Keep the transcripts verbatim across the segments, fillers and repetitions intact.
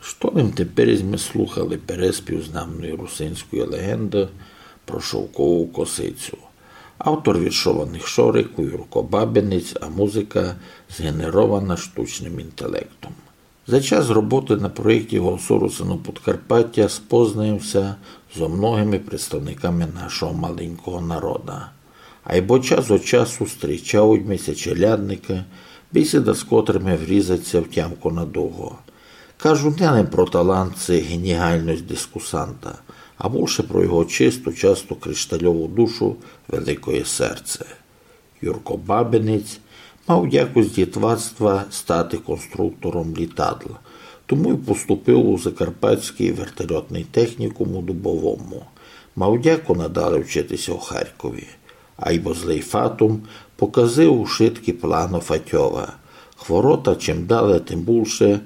Што лем теперь сьме слухали переспів знамної русинської леґенды про шовкову косицю. Автор віршованых шорикув Юрко Бабинець, а музыка зґенерована штучным інтелектом. За час роботы на проєкті Голосу Русинув Подкарпатя спознаєм ся зо многыми представниками нашого маленького народа. Айбо час од часу стрічавуть ми ся челядникы, бесіда з котрыми врізать ся в тямку надуго. Кажу не лем про талант ци геніальность дискусанта, а булше про його чисту, часто криштальову душу, великоє серце. Юрко Бабинець мав дяку з дітвацтва стати конструктором літадл, тому й поступив у Закарпатськый вертольотный технікум у Дубовому. Мав дяку надале вчити ся у Харкові. Айбо злый фатум показив ушыткі планы Фатьова. Хворота чим дале, тым булше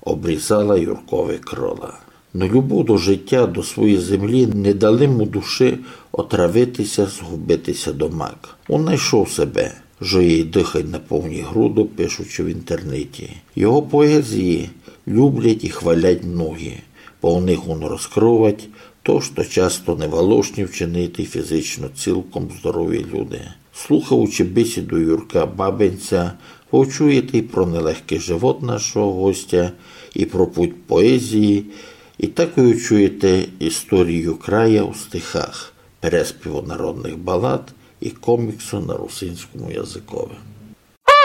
обрізала Юркови крыла. Но любов до житя, до своєї землі не дали му души отравити ся, згубити ся домак. Он найшов себе, жиє й дыхать на повні груды, пишучи в інтернеті. Його поезії люблять і хвалять многі, бо в них он розкрывать то, што часто не волошні вчинити фізично цілком здорові люди. Слухаючи бесіду Юрка Бабинця, вы чуєте і про нелегкый живот нашого гостя, і про путь поезії, і такой чуєте історію края у стихах, переспіву народных балад і коміксу на русинському языкови.